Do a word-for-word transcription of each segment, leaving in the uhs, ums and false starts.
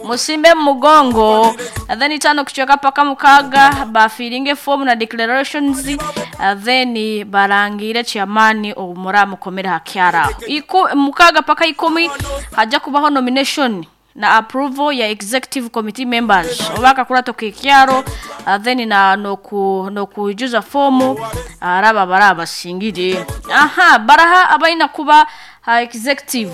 Musimbe mu mugongo. Then itano kuchweka paka mukaga bafiringe form na declarations, uh, then barangire chairman omura mukomera hakyara. Iku mukaga paka ikumi haja kubaho nomination na approval ya executive committee members obaka kurato kikyaro, uh, then na noku nokujuza fomu araba baraba singire. Aha, baraha abaina kuba ha executive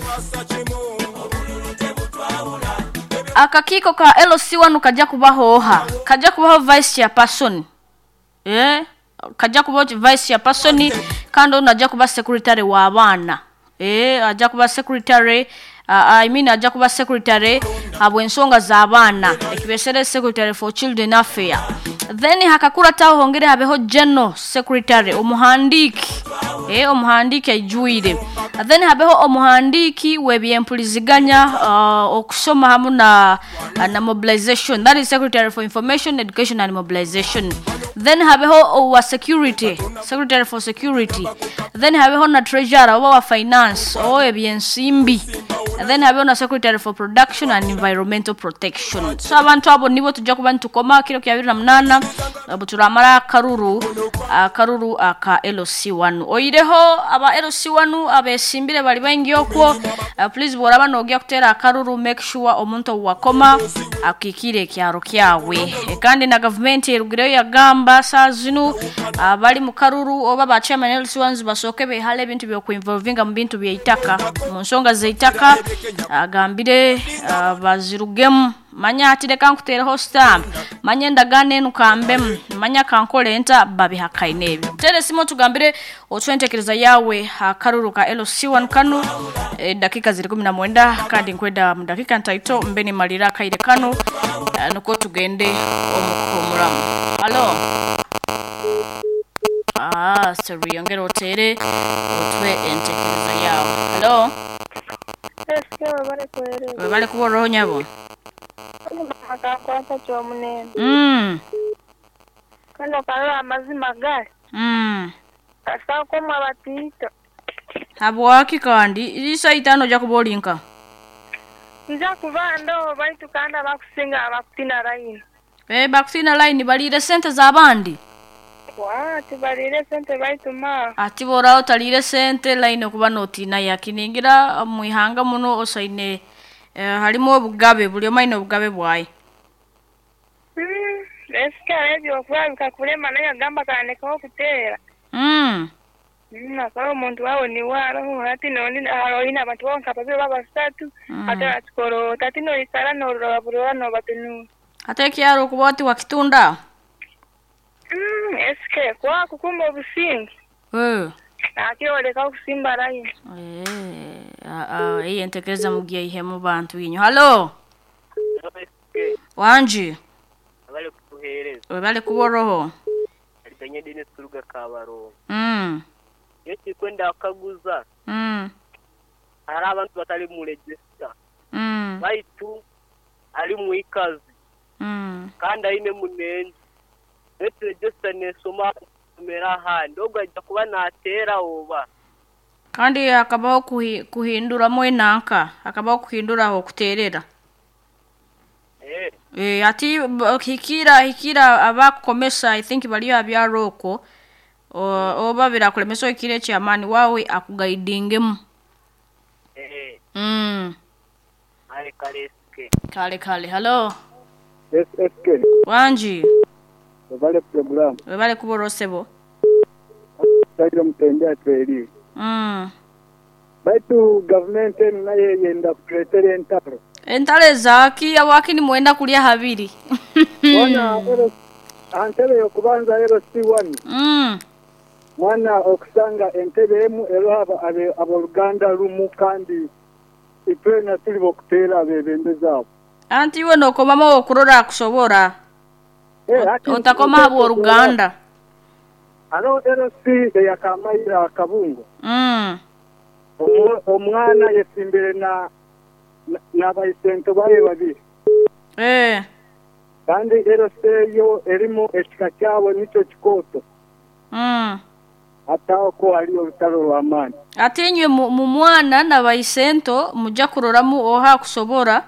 akakiko ka L C one kaja kubaho oha kaja kubaho vice chairperson, eh kaja kubaho vice chairperson kandi onaja kuba secretary wa abaana, eh aja kuba secretary, uh, I mean aja kuba secretary habwensonga za abaana ekibesere secretary for children affair. Then hakakura taho hongere habeho general secretary omuhandiki, eh omuhandiki ajuire. Then habeho omuhandiki webyempuliziganya, uh, okusoma hamu na, na mobilization, that is secretary for information, education and mobilization. Then habeho wa security, secretary for security. Then habeho na treasurer oba wa finance oba ebyensimbi. Then habeho na secretary for production and environmental protection. So abantu abo nibo tujja kuba ntukoma kiro kya bibiri na munana abo turamara akaruru akaruru aka L C one. Oyireho aba L C one abesimbire bali baingi okwo, uh, please boraba nogya kutera akaruru, make sure omuntu wakoma akikire kyaro kyawe. E, kandi na government erugireyo yagamba saa zinu abali mu karuru oba ba chairman L C ones basoke behale ebintu byo kuinvolvinga mu bintu byeitaka mu nsonga zeitaka, agambire uh, bazirugemu manya atireka nkutereho stamp manya ndagane nukambem manya kankole enta babihakaine ebyo. Tere simo tugambire otwentekereza yawe akaruru ka L C one kanu, e, dakika ziri kumi na mwenda kandi nkwenda mu dakika ntaito mbeni malira kaire kanu, e, nuko tugende omukomuramu. Hello. Ah, sorry, ongera otere otwe entekereza yawe. Hello. Webale kuboroho nyabo. Akakwata kyomunene. Mm. Kano kalala amazima gali. Mm. Kasako mabatiito. Habwaki kandi isa itano ja kubolinka. Nja kuba ndo baitu kanda bakusinga abakutina line. Eh bakutina line balire sente z'abandi. Wa tibalire sente baitu ma. Ati bora otalire sente line okuba notina yakiningira muihanga muno osaine, eh, harimo obugabe buli omaine obugabe bwaye. Mm, esika ebyo okuba bikakulema naye agamba kandekaho okuteera. Mm. Mm, akaba omuntu wawe ni waro hati noni aroina abantu bonka babiri babasatu Mm. ate atikoro tati noikara norora burora nobatunu. Ate kyaro okuba oti wakitunda. Mm, esike kwa kukumba obusingi. Eh. Akioleka okusimba line. Eh, ah ah iyi entekereza mugiye ihe mu bantu inyo. Hello. Wanji. Abale kutuhereza. Webale kuboroho. Aliganye Dennis Kuruga Kabaro. Mm. Iyo kikwenda akaguza. Mm. Hari abantu batari mu register. Mm. Baitu ari mu ikazi. Mm. Kandi aine munenzi. Baitu register nesoma kumera handi ogajja kuba natera oba. Kandi hakabaho kuhi, kuhindura enanka, hakabaho kuhindura aho kuterera. Eh. Eh ati b- hikira hikira abakukomesa I think baliyo abyaroko oba birakulemesa ikire chairman wawe akuguidingemu. Eh. Mm. Ale kale S K. Kale kale. Hello. S S K. Wanji. Webale program. Webale kuborosebo. Tayo mutendea tweri. Mm. Baitu government enu naye yenda kutuletera entaro. Entare zaki awaki ni mwenda kulia habiri. Mwana antebe yokubanza L C one. Mm. Mwana okusanga entebe emu eroha aboluganda lumu kandi itwena tuli bokutera abebembezi abo. Anti iwe nokomamo okurora kusobora. Eh, ati Otakoma abo oluganda. Alo L C eyakamaira akabungo. Mm. Omwana yesimbire na n'abaisento baye babiri. Eh. Kandi L C yo erimu ekika kyawe nico kikoto. Mm. Ataho ko haliyo olutalo lw'amaani. Ate inywe mu mwana n'abaisento mujja kuroramu oha kusobora.